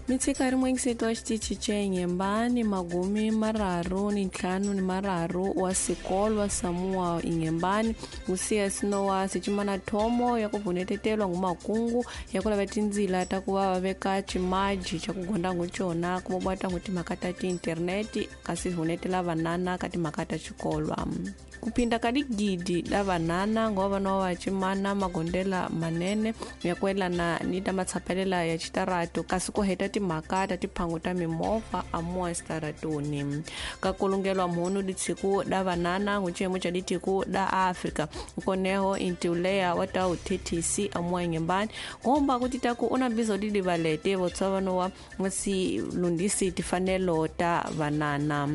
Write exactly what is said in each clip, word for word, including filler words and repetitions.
Mitshika ri mwingiseti wa xitichi xa Inhembane magumi mararu ni ntlhanu ni mararu wa sikolwa Samoa Inhembane ngusiya sinowa sicimana thomo ya ku vunetetelwa ngumakungu ya ku lava tindzila ta ku va va veka ximaji xa ku gonda ngucona ku vobata ngu timhaka ta tiinterneti kasi hunetela vanana ka timhaka ta xikolwa. Kupinda ka digidi la vanana ngova no wa chimana magondela manene ya kwelana ni ta matsapelela ya xitarato kasi ku heta timhaka ta tiphangu ta mimovha amuwa xitaratoni. Ka kulungelwa mhunu ditshiku da vanana nguchemo cha ditiku da Afrika nkoneho intiuleya wa ta U T C amuwa Inhembane ngomba kuti taku una bizo didi valete votswa wa ngasi lundisi tifanelo ta vanana.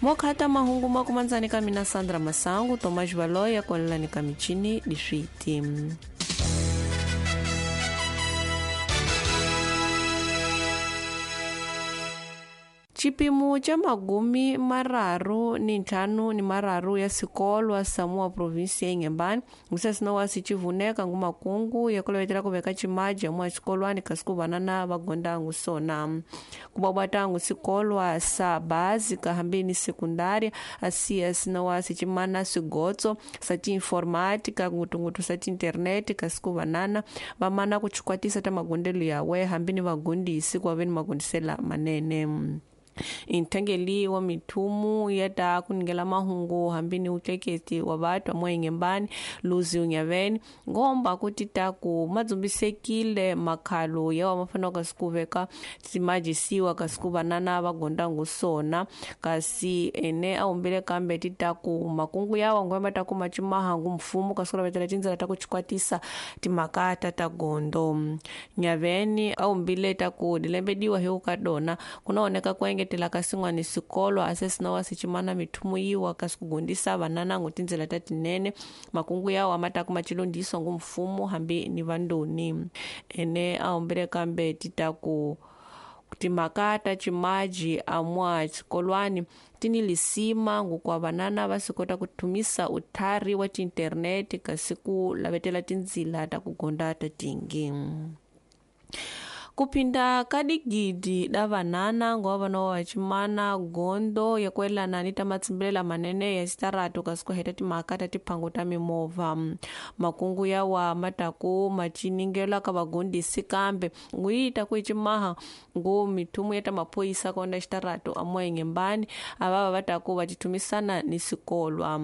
Mokhata mahungu makumanzani ka mina Sandra Masangu Tomás Valoya kolelani ka michini diswiti. Xipimo xa magumi mararu ni ntlhanu ni mararu ya sikolwa Samoa provinsi ya Inhembane ngusesinowa sicivuneka ngumakungu ya kulovetela ku veka ximaji amuwa xikolwani kasi ku vanana va gonda ngusona. Kubabata ngusikolwa sa básica hambi ni sekundária asiya sinowa sicimana swigotso sa tiinformática ngutungutu sa tiinterneti kasi ku vanana va mana ku chikwatisa ta magondelo yawe hambi ni vagondisi ku va ve ni magondisela manene. Intengeli wa mithumu ya ta kuningela mahungu hambi ni utleketi wa batho amuwa Inhembane Luzi Unyaveni ngomba kuti taku madzumbisekile makhalo yawa mafana kasi ku veka timajisiwa kasi ku vanana va gonda ngusona kasi ene a humbile kambe ti taku makungu yawa ngwema taku macimahangu mfumo kasi ku lavetela tindzela ta ku chikwatisa timhaka ta ta gondo. Nyaveni a humbile taku dilembediwa hi ka dona kunaoneka ku engetela ka sin'wana sikolo asesinowa sicimana mithumu yiwa kasi ku gondisa vanana ngu tindzela ta tinene makungu yawa ma ta ku macilondiso ngu mfumo hambi ni vandoni. Ene a humbile kambe ti taku timhaka ta ximaji amuwa xikolwani ti ni lisima ngukwa vanana va swi kota ku thumisa uthari wa tiinterneti kasi ku lavetela tindzila ta ku gonda ta tingi. Kupinda ka digidi da vanana ngova vana wa chimana gondo ya kwelana ni ta matsimbelela manene ya xitarato kasi ku heta timhaka ta tiphangu ta mimovha. Makungu yawa mataku maciningela ka vagondisi kambe nguyita ku icimaha ngu mithumu ya ta maphoyisa kona xitarato amuwa Inhembane avava va taku va tithumisana ni sikolwa.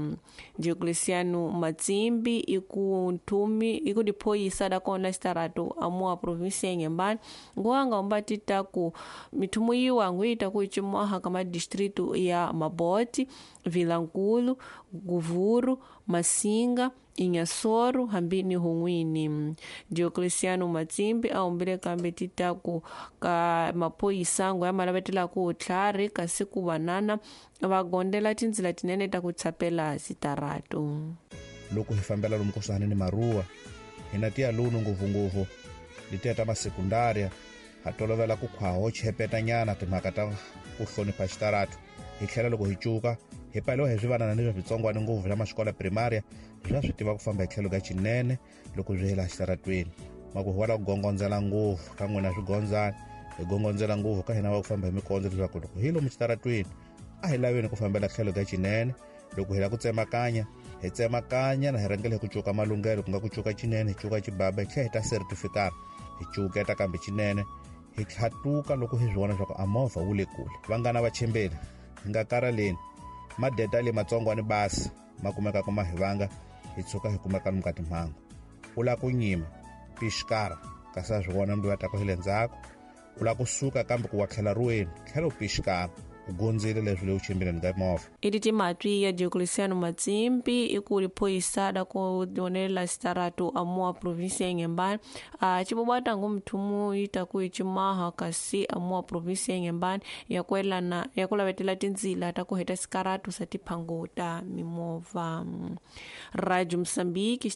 Diocleciano Matsimbi iku nthumi iku diphoyisa da kona xitarato amuwa provinsi ya Inhembane nguwanga umbati taku mithumu yiwa nguyita ku icimaha ka madistritu ya Maboti, Vilankulu, Guvuru, Masinga, Inhassoro hambi ni Hun'wini. Diocleciano Matsimbi a humbile kambe ti taku ka maphoyisa ngo ya malavetela ku tlhari kasi ku vanana va gondela tindzila tinene ta ku tsapela xitarato. Loko hi fambela lomu kusuhani ni maruwa hina tiya lunu ngopfungopfu letiya ta masekundaria ha tolovela ku khwaho chepetanyana timhaka ta ku hlonipha xitarato hi tlhela loko hi cuka hi paliwa hi swivanana ni swa switsongwana ngopfu swa maxikola primaria swa swi tiva ku famba hi tlhelo ka xinene loko swi hela xitaratweni maku hi wala ku gongondzela ngopfu ka n'wina swigondzana hi gongondzela ngopfu ka hina wa ku famba hi mikondzo leswaku loko hi lomu xitaratweni a hi laveni ku fambela tlhelo ka xinene loko hi lava ku tsemakanya hi tsemakanya na hi rhangela hi ku cuka malunghelo ku nga ku cuka xinene hi cuka xibaba hi tlhela hi ta certificate hi cuketa kambe xinene hi tlhatuka loko hi swi vona leswaku a movha wu le kule. Vanghana va chembeni hi nga karaleni madeta le matsongwani basi ma kumekaka ma hi vanga hi tshuka hi kumeka lomu ka timhangu. U lava ku nyima pixikara kasi a swi vona mbi va taku hi le ndzhaku u lava kusuka kambe ku wa tlhela ruweni tlhela u pixikara u gondzile leswi le u chimbileni ka movha. I timatwi ya Diocleciano Matsimbi i ku liphoyisa da ku onelela xitarato amuwa provinsi ya Inhembane a cibobata ngu muthumu yi ta ku icimaha kasi amuwa provinsi ya Inhembane ya kwelana ya ku lavetela tindzila ta ku heta xikarato sa tiphangu ta mimovha. Radio Mozambique.